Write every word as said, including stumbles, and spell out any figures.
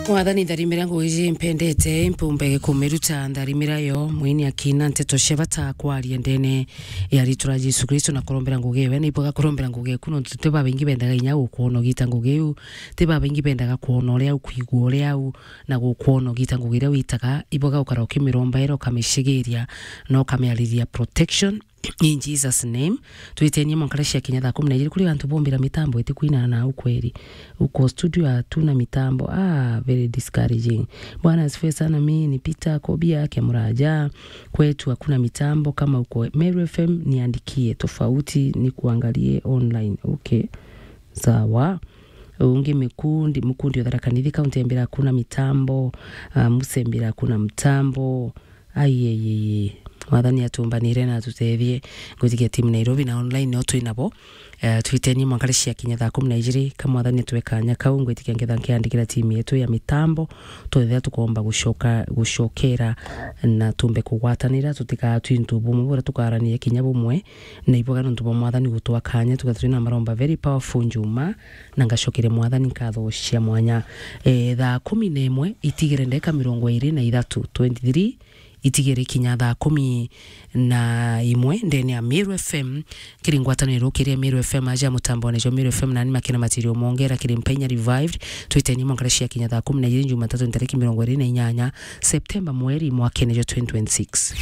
Mwathani, ntharimira ngugi iji mpendete, mpumbe kumiruta ntharimira yo. Mwini akina nteto cia bata kwaria ndene ya ritwa ria Jesu Kristo na kurombera ngugi ewe. Ni ibwaga kurombera ngugi eku, nontu ti babaingi bendaga inya gukwona ugita ngugi iu, ti babaingi bendaga kwona uria ukwigua uria u, na gukwona ugita ngugi iria witaga. Ibwaga ukara ukimiromba era ukamicigiria na ukamiariria protection. In Jesus' name, twitenie mwanka cia kinya thaa kumi na ijiri. Kuri antu bombira mitambo itikwinana na ukweri. Uko studio hatuna mitambo. Ah, very discouraging. Bwana asifiwe sana, mimi ni Peter Kobia Kemuraja. Kwetu hakuna mitambo kama uko Meru F M, niandikie tofauti ni kuangalie online. Okay. Sawa. Ungi mikundi, mukundi o Tharaka Nithi, kaunti ya Mbira hakuna mitambo, ah, Musembira hakuna mtambo. Ai, ai, ai, ai. Mwathani atumbanire na atutethie. Ngwitikia timu Nairobi na online no twi nabo. Eh, twitenie mwanka cia kinya thaa kumi na ijiri. Ka Mwathani atwe kanya kau, ngwitikia ngetha nkiandikira timu yetu ya mitambo. Twethira tukomba gucoka, gucokera na tumbe kugwatanira, tutikaa twi ntu bumwe, bura tukarania kinya bumwe. Na iboga nontu bwa Mwathani gutwa kanya, tugatwa twina maromba very powerful njuma, na ngacokeria Mwathani nkatho cia mwanya. Eh, thaa kumi na imwe itigire ndeka mirongo iri na ithatu, twenty-three, itigire kinya thaa kumi na imwe ndene ya Meru F M, kiri ngwataniro kiria Meru F M aja mutambone jo Meru F M nani makina matirio mongera kiri Mpenya Revived, twiteni mongera cia kinya thaa kumi na ijiri Jumatatu ntariki mirongo iri na inyanya Septemba mweri mwakene jo twenty twenty-six.